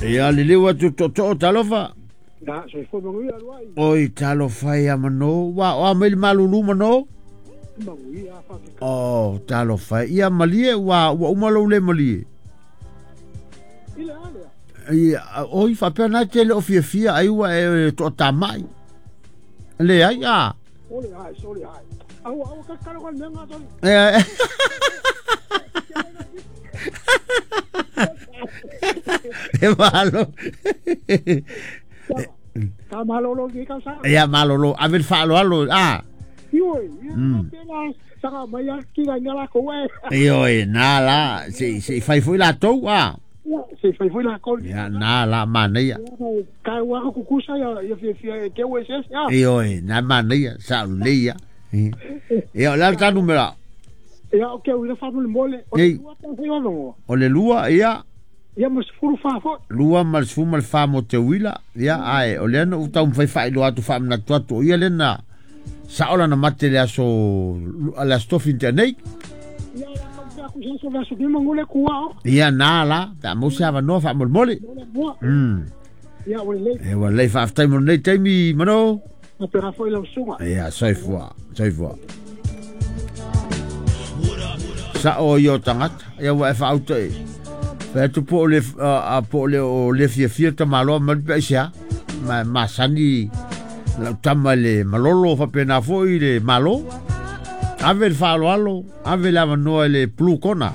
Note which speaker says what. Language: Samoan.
Speaker 1: Ia liliu atu tootoo talofa.
Speaker 2: Ia, soifua manuia alu ai.
Speaker 1: Oi talofa ia mano, ua oa mai le malulu mano.
Speaker 2: Manuia faafetai.
Speaker 1: Oh, talofa ia malie ua uma lou le malie.
Speaker 2: I le a lea.
Speaker 1: Ia, oi faapea na te le o fiafia ai ua e toatamai. Le ai a.
Speaker 2: Ole ai, sole ai. Au au ka kalo ka mea ngā toli.
Speaker 1: E malo.
Speaker 2: Ka malolo ki ka sa.
Speaker 1: Ia malolo, ave le faaaloalo a.
Speaker 2: Ioi, ia pela sanga mai a ki ga ngala ko e.
Speaker 1: Ioe, na la, se fai foi latou a.
Speaker 2: Ia, se fai foi la ko.
Speaker 1: Ia, na la manaia.
Speaker 2: Ka wa ku kusa ia ia fia fia e ke o se ia.
Speaker 1: Ioe, na manaia, sa lelei ia. Ia, o le a le ta numera?
Speaker 2: Ia, o ke ua fa mo mole. O
Speaker 1: Ei.
Speaker 2: le lua ta fai o
Speaker 1: O le lua, ia,
Speaker 2: Ia mo se furu fa fo.
Speaker 1: lua ma le 14 mo te uila, ia, ae, o lea na ou taumafai faailoa atu faamanatu atu, o ia lea na sao lana mate le aso, le aso tofi na tea nei.
Speaker 2: Ia la ka ta ku sa so la so ki mangule ku o.
Speaker 1: Ia, na la, pe a maua se avanoa faamolemole.
Speaker 2: Mole mua. Ia o le
Speaker 1: E ua lelei faafetai mo lenei taimi mano.
Speaker 2: Na pera foi la usunga.
Speaker 1: Ia, soifua, soifua. Sao ia o tagata, ia ua e faauta e. Fai atu po o le, po o le o le fiafia tamaloa ma le pe aisea. Ma masani lau tama i le malolo faapena foi i le malo. Ave le faaaloalo, ave le avanoa i le blue kona.